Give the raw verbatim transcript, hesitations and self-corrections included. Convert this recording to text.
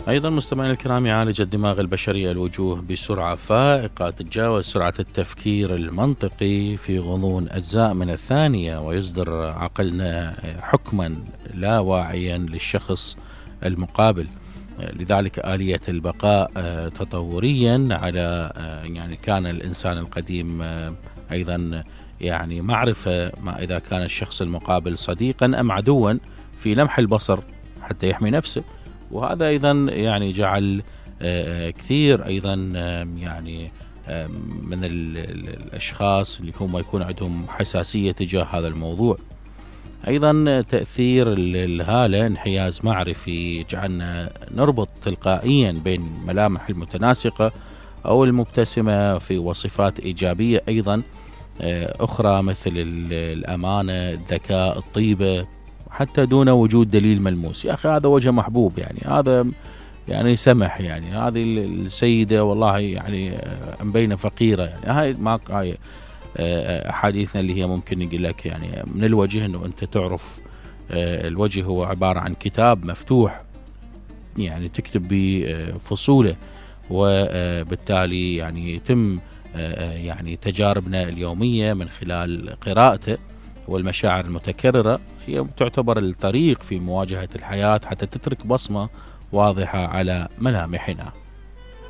أيضا مستمعينا الكرام، يعالج الدماغ البشري الوجوه بسرعة فائقة تتجاوز سرعة التفكير المنطقي في غضون أجزاء من الثانية، ويصدر عقلنا حكما لا واعيا للشخص المقابل. لذلك آلية البقاء تطوريا على يعني كان الإنسان القديم أيضا يعني معرفة ما إذا كان الشخص المقابل صديقا أم عدوا في لمح البصر حتى يحمي نفسه. وهذا أيضا يعني جعل كثير أيضا يعني من الأشخاص اللي هم يكون عندهم حساسية تجاه هذا الموضوع. أيضا تأثير الهالة انحياز معرفي جعلنا نربط تلقائيا بين ملامح المتناسقة أو المبتسمة في وصفات إيجابية أيضا أخرى مثل الأمانة، الذكاء، الطيبة، حتى دون وجود دليل ملموس. يا أخي هذا وجه محبوب، يعني هذا يعني سمح، يعني هذه السيدة والله يعني مبينة فقيرة، يعني هاي ما هاي أحاديثنا اللي هي ممكن يقول لك يعني من الوجه أنه أنت تعرف الوجه هو عبارة عن كتاب مفتوح يعني تكتب بفصوله، وبالتالي يعني يتم يعني تجاربنا اليومية من خلال قراءته والمشاعر المتكررة هي تعتبر الطريق في مواجهة الحياة حتى تترك بصمة واضحة على ملامحنا.